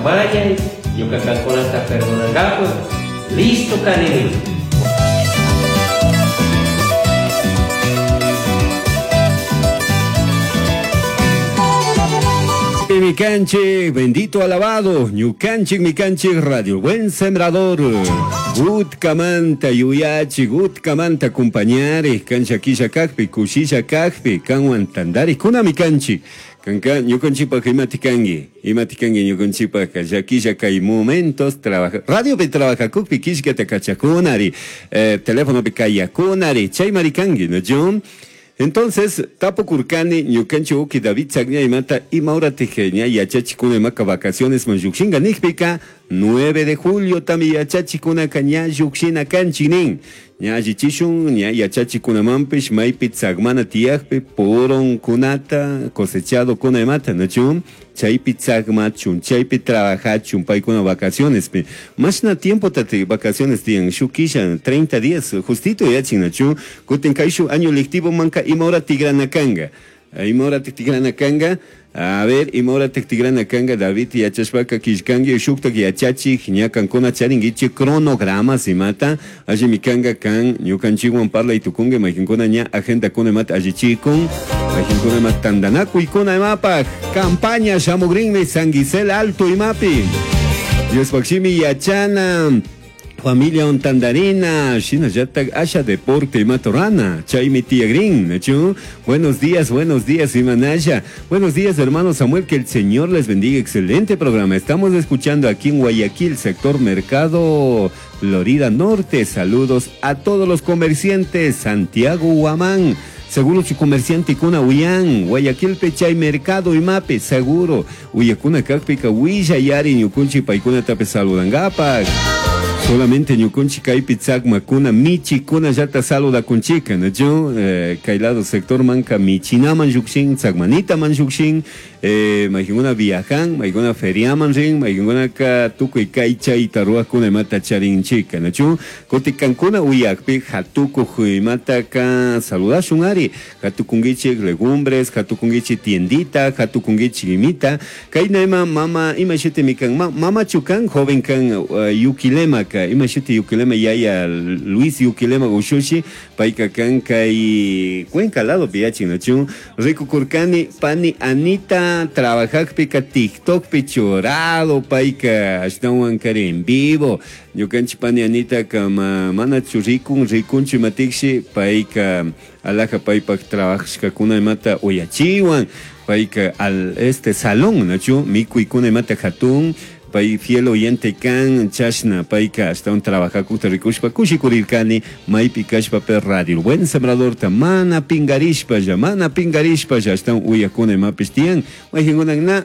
mañai, ñuka kankunata perdonangapak listo kanimi. Mi canche, bendito alabado, ñukanchik mi canche, radio buen sembrador. Utkamanta yuyachi, utkamanta acompañare, cancha kisha kakpi, kushisha kakpi, kanwan tandari, kuna mi canchi. Kanka ñukanchikpak imati kanki, imati kanki ñukanchikpak llakilla kay momentos trabaja, radiopi trabajacukpi killkata kachakunari, telefonopi kayakunari, chaymari kanki, ¿no? Entonces, tapukurkani ñukanchik uki David Chagña imata ima horatik ña yachachikuna imaka vacaciones man llukshinka nikpika 9 de julio tami yachachikunaka ña llukshina kanchik nin. Ña allichishun ña yachachikunamanpish maypi tsakmana tiyakpi puronkunata cosechado kuna imata, ¿no? Chaypi tsakmachun, chaypi trabajachun, paykuna vacacionespi. Mashna tiempo tate vacaciones tiyan, shuk kisha, 30 días, justito yachin, ¿no? Kutin kay shuk año lectivo manka ima hora tigrana kanga. Ima hora tigrana kanga. A ver, ima hora tigrana kanga, David yachashpaka killkanki, shuktak yachachik, ña kankuna charinkichik cronogramas imata, alli mikanga kan, ñukanchikwan parlay tukunki, mayqinkuna ña agendakuna imata allichikun, mayqinkuna ima tantanakuykuna imapaj, campaña shamugrinmi San Gisel Alto imapi. Diospaj shimi yachana, familia ontandarina, shinallatak asha deporte imatorana, chaymi tiyagrin, ¿no? Buenos días, buenos días, Imanaya. Buenos días, hermano Samuel, que el Señor les bendiga. Excelente programa. Estamos escuchando aquí en Guayaquil, sector Mercado Florida Norte. Saludos a todos los comerciantes. Santiago Huamán. Seguro su comerciante kuna uyan, Guayaquil pechay mercado y mape, seguro. Uyakuna kakpika huilla yari ñukunchi paikuna tape saludangapak. Solamente ñukunchi kaypi tsakmakuna, michikuna llata saludakunchika, ¿no? Yo, kay lado sector manka michinaman llukshin, tsakmanitaman llukshin, maykuna viajan, maykuna feriaman rin, maykuna ka tukuy kay chayta ruwakuna imata charinchika, ¿no? Yo, kutikankuna uyakpi hatukuj imata ka saludashun ari, hatukunkichik legumbres, hatukunkichik tiendita, hatukunkichik imita, kayna ima mama, ima shuti mikan, mama chukan, joven kan, yukilema ka, ima shuti yukilema yaya Luis yukilema ushushi, payka kan kay Cuenca lado piyachin, ¿no? Chun, rikukurkani pani Anita trabajakpika TikTokpi churado payka ashtawan kari en vivo, ñukanchik pani Anita kama manachu rikun, rikunchu imatikshi payka alaja paypak trabajashkakuna imata uyachiwan, payka al este salón, ¿no? Chun, mikuykuna imata hatun, pay fiel oyente kan chashna payka hasta un trabajakuta rikushpa kushikurirkani maypi kashpa per radio buen sembrador ta mana pingarishpa ya, mana pingarishpa ya, hasta un uyakuna imapish tiyan, mayqinkuna na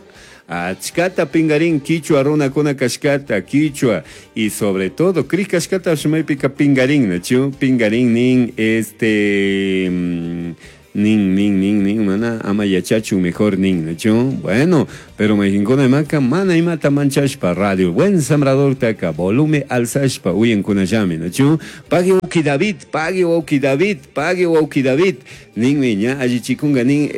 achkata pingarin quichua runakuna kashkata quichua y sobre todo cri kashkata maypika pingarin, ¿no? Chu, pingarin nin este, nin, nin, nin, nin, mana, ama yachachu mejor nin, ¿no? Chu, bueno, pero mayqinkuna imaka mana imata manchashpa radio buen sembrador taka volumen alzashpa uyankunallami, ¿no? Chu, pague uki David, pague uki David, pague uki David, ninmi ña allichikunga nin,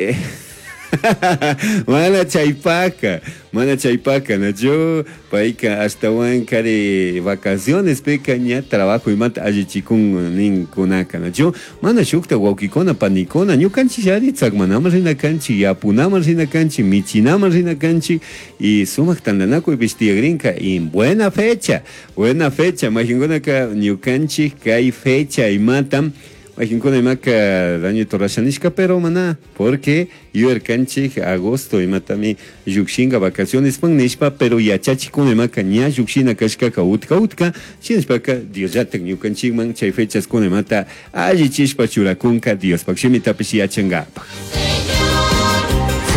Mana chaypaka, mana chaypaka, ¿no? Yo, payka ashtawan kari vacaciones peka ña trabajo imata allichikun ninkunaka, ¿no? Yo, mana shukta wawkikuna panikuna, ñukanchik ari tsakmanaman rina kanchik, yapunaman rina kanchik, michinaman rina kanchik, y sumak tantanakuypish tiyagrinka, y buena fecha, buena fecha, mayqinkunaka ñukanchik kay fecha imata, mayqinkuna imaka daño torashanishka, pero mana, porque yuyarkanchik agosto imatami llukshinka vacaciones pan nishpa, pero yachachikuna imaka ña llukshina kashkaka utka utka, shinashpaka Diosllatak ñukanchikman chay fechas kuna imata allichishpa churakunka Diospak shimitapish yachankapak.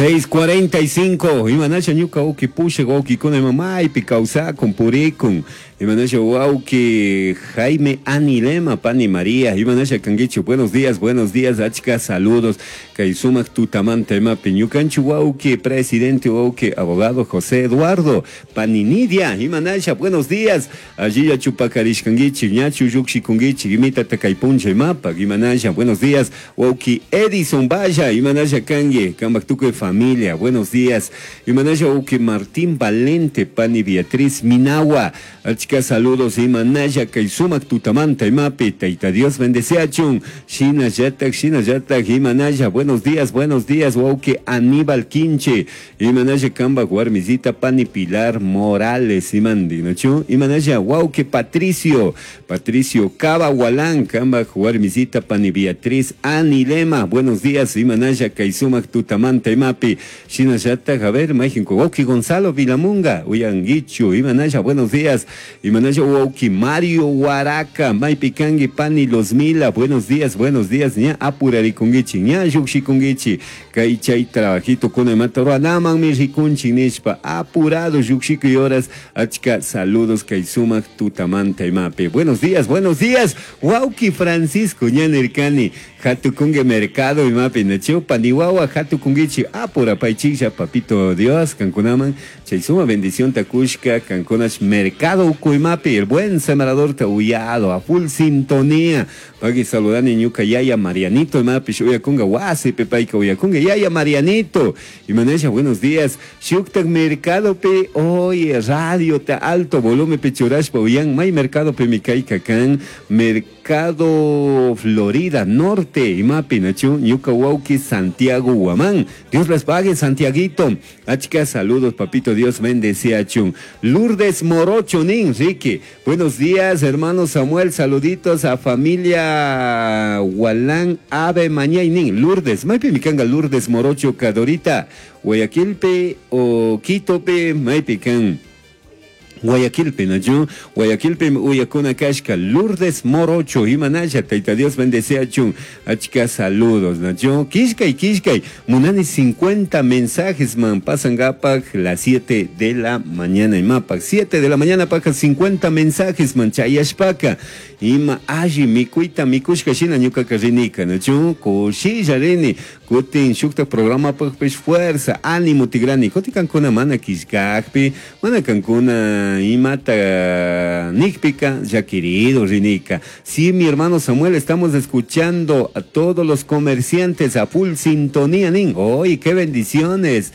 6:45, imanasha ñuka uki pushak wawkikuna ima maypi kawsakun purikun, imanasha wawki Jaime Anilema, pani María, imanasha kankichu, buenos días, buenos días, achka saludos. Kay sumak tutamanta imapi ñukanchik wawki presidente wawki abogado José Eduardo pani Nidia imanasha buenos días. Allilla chupakarishkankichik ñachu llukshikunkichik imitata kay puncha imapak imanasha buenos días. Wawki Edison Valla imanasha kanki kanpak tukuy familia buenos días. Imanasha wawki Martín Valente pani Beatriz Minawa achka saludos imanasha kay sumak tutamanta imapi Tayta Dios bendeciachun shinallatak shinallatak imanasha buenos días buenos días wawki Aníbal Quinche imanasha kanpak warmisita pani Pilar Morales imandi nachu imanasha wawki Patricio Patricio Cava Walán kanpak warmisita pani Beatriz Anilema buenos días imanasha kay sumak tutamanta imapi shinallatak a ver mayjinku wawki Gonzalo Vilamunga uyanguichu imanasha buenos días imanasha wawki Mario Huaraca maypi kanki pani Los Mila buenos días buenos días ña apurarikunkichik ña llukshikunkichik kay chay trabajito kuna imata ruwanamanmi rikunchik nishpa apurado llukshikuy horas achka saludos kay sumak tutamanta imapi. Buenos días buenos días wawki Francisco ña nirkani hatukunki mercado imapi nachu paniwawa hatukunkichik apurapaychiklla papito Dios kankunaman chay suma bendición takushka kankunash mercado uku imapi el buen sembrador ta uyado a full sintonía. Pagui saludani ñuka yaya Marianito imapi uyakunga wasipi payka uyakunga yaya Marianito. Imanasha buenos días. Shuktak mercado pe oye radio ta alto volumen pe churashpa uyan may mercado pe mikayka kan mercado Florida Norte imapi nachu ñuka wawki Santiago Huamán. Dios les pague Santiaguito. Achka saludos papito Dios bendeciachun. Lourdes Morocho nin Ricky. Buenos días hermano Samuel saluditos a familia Hualán Ave Mañay nin. Lourdes maypi mikanga Lourdes Morocho Cadorita Guayaquilpe o Quitope maypi kan Guayaquilpe, nachu Guayaquilpe uyakuna kashka Lourdes Morocho imanasha Tayta Dios bendeciachun achka saludos nachu kishkay kishkay munani 50 mensajes man pasan gapak las 7 de la mañana imapak 7 de la mañana paka 50 mensajes man chayashpaka ima alli mikuyta mikushka shina ñukaka rinika nachu kushilla rini kutin shukta programa pakpish fuerza ánimo tigrani. Kutin kankuna mana kishkakpi mana kankuna imata nikpika ya querido rinika. Sí, mi hermano Samuel, estamos escuchando a todos los comerciantes a full sintonía nin. ¡Oy, qué bendiciones!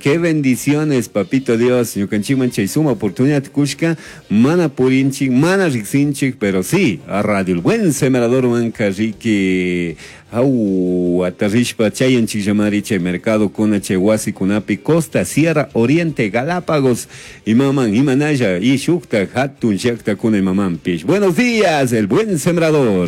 Qué bendiciones, papito Dios. Ñukanchikman chay suma oportunidad kushka, mana purinchik, mana riksinchik, pero sí, a Radio El Buen Sembrador manka riki au atarishpa chayanchik llamari chay mercado kuna chay wasi kunapi Costa, Sierra, Oriente, Galápagos, imaman, imanaya, y shukta, hatun, llakta kuna imamanpish. Buenos días, El Buen Sembrador.